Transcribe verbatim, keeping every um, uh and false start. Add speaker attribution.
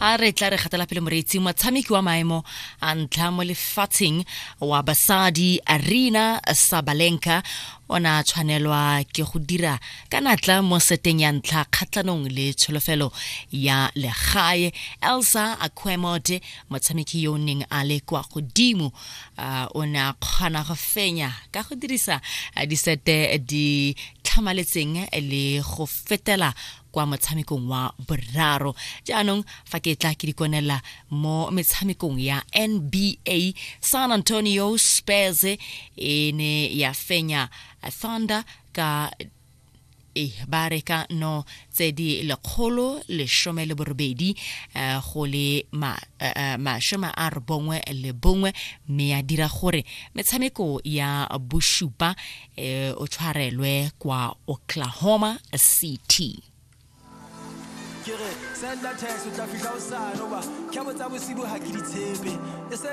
Speaker 1: A re tla re gatela pele, moreetsi. Motshameki wa maemo a ntlha mo lefatsheng wa basadi, Aryna Sabalenka, o ne a tshwanelwa ke go dira ka natla mo seteng ya ntlha kgatlhanong le tsholofelo ya legae, Elsa Auquemort. Motshameki yo o neng a le kwa godimo uh, o ne a kgona go fenya ka go dirisa uh, disete di tlhamaletseng le go fetela kwa motshamekong wa boraro. Jaanong fa ke tla ke dikonela mo metshamekong ya N B A, San Antonio Spurs e ne ya fenya Thunder ka e ba reka no tse di lekgolo lesome le borobedi eh, go le eh, masome a robongwe le bongwe, mme ya dira gore metshameko ya bosupa eh, o tshwarelwe kwa Oklahoma City.
Speaker 2: Ke re senda text, o tla fihla hosane, hoba kgabo tsa bosibu ha ke di tshepe e se.